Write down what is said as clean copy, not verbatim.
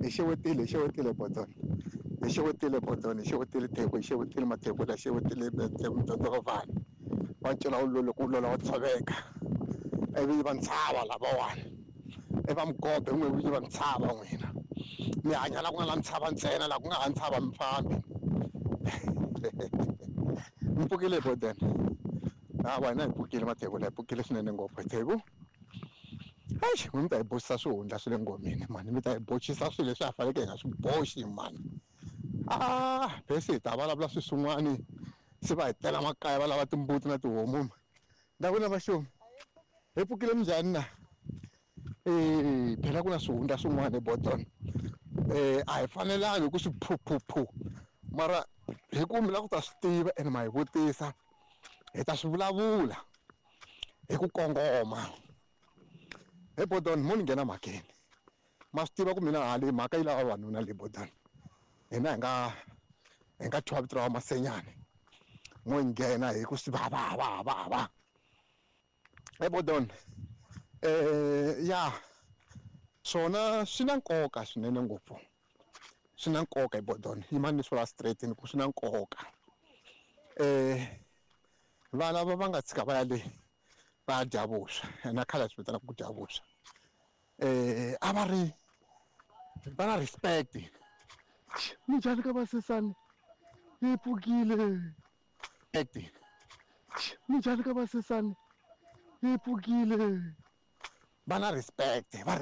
Hi xewetile hi xewetile Bodon hi xewetile Bodon hi xewetile Theko hi xewetile Mathekula hi xewetile Mdondovani wa cela wu loko wu lola wa tshoveka ivi va ntshava lavawani i va Mugobe n'we vinyi va ntshava n'wina mi hanya la ku nga na ntshava ntsena la ku nga ha ntshava mi fambi mi pfukile Bodon hawa hina hi pfukile Mathekula hi pfukile swinene ngopfu Theko. Eish mi ta hi boxisa swihundla swa le ngomeni mhani mi ta hi boxisa swilo leswi a faneleke hi nga swi boxi mhani ah bese hi ta vulavula swilo swin'wani se va hi tela makaya va lava timbuti na tihomu ndza ku na vaxomi hi pfukile minjhani na e phela ku na swihundla swin'wana hi bodon a hi fanelangi ku swi phuphupu mara hi ku mi lava ku ta swi tiva ene ma hi vutisa hi ta swi vulavula hi ku kongoma. He Bodon mo ni nghena mhakeni ma swi tiva ku mina hale mhaka yi lava vavanuna le Bodon hina hi nga hi nga thyiwa vito ra Masenyani mo yi nghena hi ku swi va va va va va he Bodon ya swona swi na nkoka swinene ngopfu swi na nkoka hi Bodon yimani ni swi vula straight ni ku swi na nkoka vana va va nga tshika va ya le va dya vuswa na khale a swi vitanaka ku dya vuswa a va ri va na respect minjhani ka vasesani yi pfukile respect minjhani ka vasesani yi pfukile va na respect va.